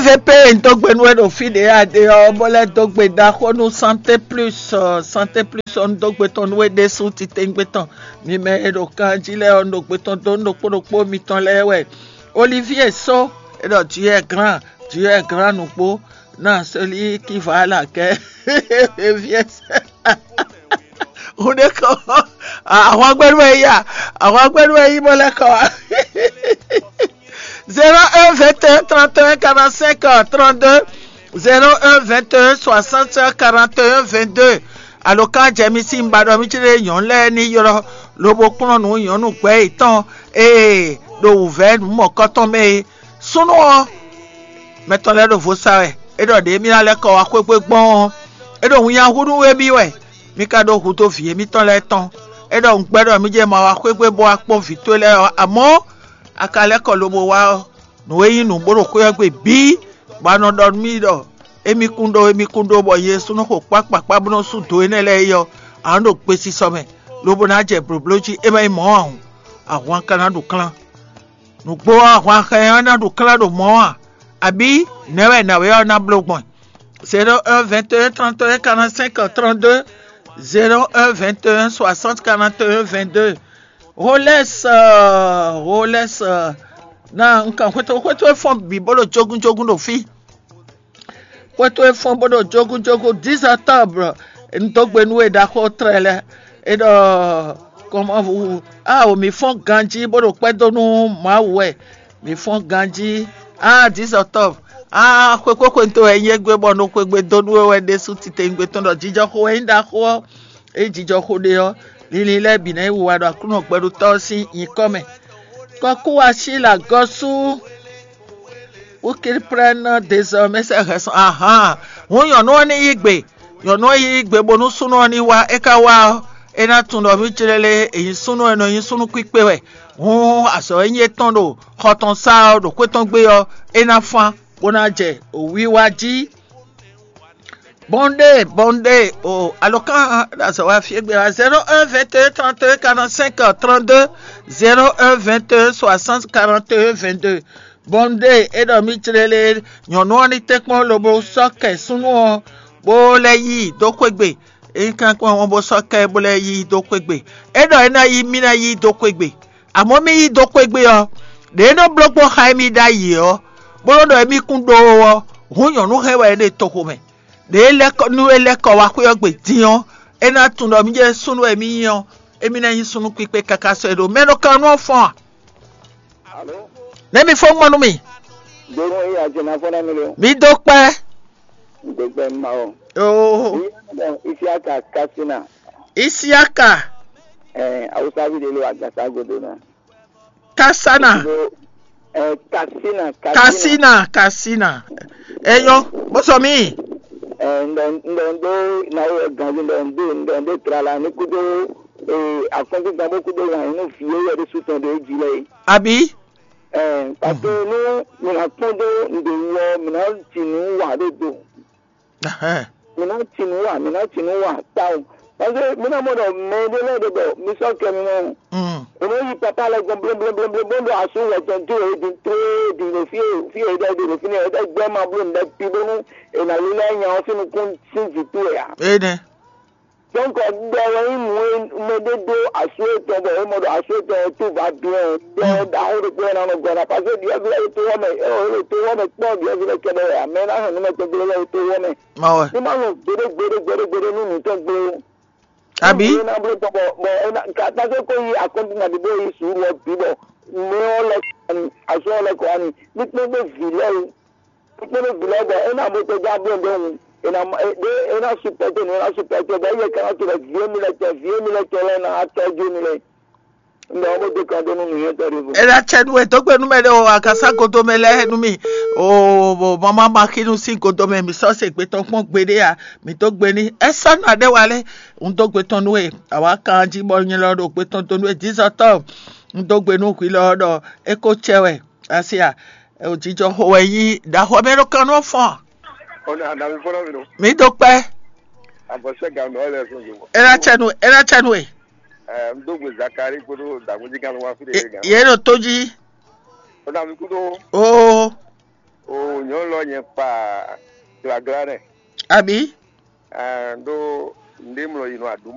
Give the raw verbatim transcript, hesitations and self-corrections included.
Vp, un dó gbe nú we ɖo fí ɖě a ɖe ɔ́, bó lɛ́ dó gbe ɖaxó nú Santé Plus, ɔ, Santé Plus ɔ́, un dó gbe tɔn nú we ɖésú titewungbe tɔn. Mi mɛ e ɖo kan jí lɛ́ɛ ɔ́, un ɖo gbe tɔn dó nú ɖokpó ɖokpó mitɔn lɛ́ɛ wɛ. Olivier Só, e ɖɔ Dieu est grand, Dieu est grand nǔgbó, ná celui qui va à la guerre. Olivier Só. Hun ɖé kɔ, ahwangbɛ́nú wɛ yí a? Ahwangbɛ́nú wɛ yí bó lɛ́ kɔ wá. Zéro un vingt et un trente et un quarante-cinq trente-deux, zéro un vingt et un soixante quarante et un vingt-deux. Alǒkan jɛ mi sín ba ɖɔ mí céɖé nyɔ̌nu lɛ́ɛ ní ylɔ́ lobo kplɔ́n nǔ nyɔ̌nu gbɛ̌ yětɔn e ɖo wǔvɛ́ nǔ mɔ̌kɔtɔn mɛ é. Súnnu ɔ́, mɛ tɔn lɛ́ɛ ɖo vo sa wɛ. É ɖɔ ɖě mì ná lɛ́ kɔ wá xwé gbé gbɔn ɔ́, é ɖo winnyá hu nú émí wɛ. Mi ka ɖó hudó vǐ émítɔn lɛ́ɛ tɔn. É ɖɔ un gbɛ́ ɖɔ mí jɛ ma wá xwé gbé bó wá kpɔ́n vǐ towe lɛ́ɛ ɔ́, amɔ̌ a ka lɛ́ kɔ lobo wá ɔ́, nǔ e nyí nǔ bó ɖo xwé ɔ́ gbe bǐ, bɔ a nɔ ɖɔ nú mì ɖɔ émí kún ɖó, émí kún ɖó, bɔ nyɛ ɖésú nɔ xo kpá kpakpá bó nɔ́ sú do énɛ́ lɛ́ɛ é ɔ́, a nǎ ɖo gbesisɔ mɛ, lobo ná jɛ blǒbló jí. É ma nyí mɔ̌ ǎ hǔn, ahwan ka ná ɖu klán. Nǔgbó ɔ́, ahwan xɛ ɔ́ ná ɖu klán ɖo mɔ̌ ǎ, abǐ nɛ̌ wɛ nǎwe ɔ́ ná bló gbɔn? Zéro un vingt et un trente et un quarante-cinq trente-deux, zéro un vingt et un soixante quarante et un vingt-deux. Rolex, euh, Rolex, euh, na un kan xwétó xwétó e fɔ́n bǐ bó ɖo jógún jógún ɖo fí. Xwétó e fɔ́n bó ɖo jógún jógún dix octobre, un dó gbe nú we ɖaxó tlɛ lɛ́ɛ. É ɖɔ kɔmɔvu, ao mǐ fɔ́n ganjí bó ɖo kpɛ́ dó nú Mawu wɛ. Mǐ fɔ́n ganjí. Ah, dix octobre. Ah, xwekóxwenu to wɛ nyí égbé bɔ un ɖo xwegbe dó nú we wɛ ɖésú titewungbe tɔn ɖɔ jijɔxo wɛ nyí ɖaxó ɔ́. Ényí jijɔxo ɖe ɔ́, linlin lɛ́ɛ bǐ ná yi wiwa ɖo Aklúnɔ gbɛɖutɔ́ ɔ́ sín nyǐkɔ mɛ. Kɔkúwashi lɛ agɔ́sú, ukilprɛ́nɔ dézɔmɛ sɛ hɛn sɔn ahan. Hǔn nyɔ̌nu ɔ́ ní yí gbe. Nyɔ̌nu ɔ́ yí gbe bónú súnnu ɔ́ ní wá. É ka wá ɔ́, é ná tunwun ɖɔ mí clélé è nyí súnnu e nɔ nyí súnnu kpíkpé wɛ. Hǔn azɔ̌ e nyí étɔn ɖo xɔ tɔn sá ɔ́, ɖo xwé tɔn gbe ɔ́, é ná fán, bó ná jɛ wǐwá jí. Bɔndé, bɔndé, o alɔkan ɖo azɔ̌ wá fí égbé wá. Zéro un vingt et un trente et un quarante-cinq trente-deux, zéro un vingt et un soixante quarante et un vingt-deux. Bɔndé, é ɖɔ mí clélé, nyɔ̌nu ɔ́ ní tɛ́nkpɔ́n lobo sɔ́ kɛ súnnu ɔ́, bó lɛ́ yí i dó xwé gbe. É nyí kankwɛ́n ɔ́ bó sɔ́ kɛ bó lɛ́ yí i dó xwé gbe. É ɖɔ é ná yí mí ná yí i dó xwé gbe. Amɔ̌ mí yí dó xwé gbe ɔ́, ɖě é nɔ bló gbɔn xá émí ɖ'ayǐ ɔ́, bó nɔ́ ɖɔ émí kún ɖó ɔ́, hǔn nyɔ̌nu hɛn wɛ é ɖe toxo mɛ. Ɖě é lɛ́ kɔ nú é lɛ́ kɔ wá xwé ɔ́ gbe din ɔ́, é ná tunwun ɖɔ mí jɛ súnnu wɛ mí nyí ɔ́, émí ná nyí súnnu kpíkpé káká sɔ́ ɛ ɖó. Mɛ nɔ kan nú ɔ́ fɔ́n a? Alo? Nɛ̌ mi fɔ́n gbɔn nú mì? Donu eyi ajena fɔ́n nɛ mi lo. Mi dó kpɛ́. Gbegbe ma o. Oo. Iye mo Isiaka Kasina. Isiaka. Eh, awusavi de lo agasa godo na. Kasana. Lo, eh, Kasina, Kasina. Kasina, Kasina. Eyo, bó sɔ mí. Eh, ndo ndo ndo na wo ganzi ndo ndo ndo ndo trala ni kudo, eh, akondu gabo kudo wa inu fiye ya de sutan de jile. Abi? Ɛɛ, parce que nú mǐ ná kpɔ́n dó nǔɖé wú ɔ́, mǐ ná ji nǔ wa ɖó do. Mǐ ná ji nǔ wa, mǐ ná ji nǔ wa tawun. Parce que mǐ ná mɔ ɖɔ mɛ ɖé lɛ́ɛ ɖe bɔ mi sɔ́ kɛ mi mɔ. È nɔ yi papa lɛ́ɛ gɔ́n bléblébléblé bó ɖo asú wɛ tɔn dó e din tlé din ɖo fí e fí e ɖɔ ɖe ɖo fínɛ́, è ɖɔ gbɛ́ ma bló nǔɖé pi bónú è nǎ lílɛ́ nya ɔ́ sín nukún sín vǐ towe ǎ. Énɛ́. Donc, ɖɔ wɛ nyí nǔ e mɛ ɖé ɖó asú etɔn bɔ é mɔ ɖɔ asú etɔn ɔ́ tó va bien ɔ́, ɖɔ ɖaxó ɖokpó wɛ ná nɔ gɔ́ ná, parce que ɖyɔ̌vǐ lɛ́ɛ ɖo tó wɔ mɛ, é wɔ é ɖo tó wɔ mɛ kpɔ́ ɖyɔ̌vǐ lɛ́ɛ kɛɖɛ wɛ ǎ, mɛ e ná hɛn nǔ mɛ tɔn gblé lɛ́ɛ ɖo tó wɔ mɛ. Má wɛ. Ní má nɔ gbeɖé gbeɖé gbeɖé gbeɖé nú nǔ tɔn gblé ó. Àbí? Ní ná bló tɔn bɔ bɔ é ná ka tá sɔ́ kó yi akɔ́ntín ná ɖi bó yi sùúrù ɔ́ bǐ bɔ mɛ ɔ́ lɛ́ kɔ wá ni, asú ɔ́ lɛ́ kɔ wá ni, ní kpɛ́n ɖó vǐ lɛ́ɛ wú. Kpɛ́n ɖó vǐ lɛ́ɛ bɔ é ná mɔ tɔjú abló ɖó wú, é ná mɔ é é ná supɛ́tɛ́ nǔ, é ná supɛ́tɛ́ bɔ é yɛ ka ná tunwun ɖɔ vǐ émí lɛ́ɛ tɔn, vǐ émí lɛ́ɛ tɔn lɛ́ɛ ná wá tɔ́jú émí lɛ́ɛ. Un ɖɔ ɔ́ bó dó kan dó nú nǔnywɛ́tɔ́ ɖěvo. É ná cɛ nú we dó gbe nú mɛ ɖé o, akasá godo mɛ lɛ́ɛ nú mì. O, bo mama ma xínú sín godo mɛ, mǐ sɔ́ se gbe tɔn kpɔ́n gbeɖé a, mǐ dó gbe ní. É sɔ́ nɔ aɖé wa lɛ́, un dó gbe tɔn nú we. Àwa kan jí bɔ nyɛ lɔ ɖo gbe tɔn dó nú we dǐzɔtɔ́. Un dó gbe nú hwi lɔ ɖɔ é ko cɛ wɛ. Asi a, o jijɔ xo wɛ yí ɖaxɔ mɛ ɖo kan nɔ fɔn. Ona na mi fɔlɔ mi no. Mi do kpɛ. Abɔsɛ gan nɔ ɛlɛ fún mi. Ela tsɛnu, ela tsɛnu e. Ɛɛ, n do gbe Zakari kpodo dagunji kan wa fi de gan. Ye ɖo to jí. Ona mi kudo. Oo. Oo. Nyɔ̌nu lɔ nyɛ kpa glaglá nɛ. Àbí? Ɖó nɖé mlɔ yi nɔ aɖǔ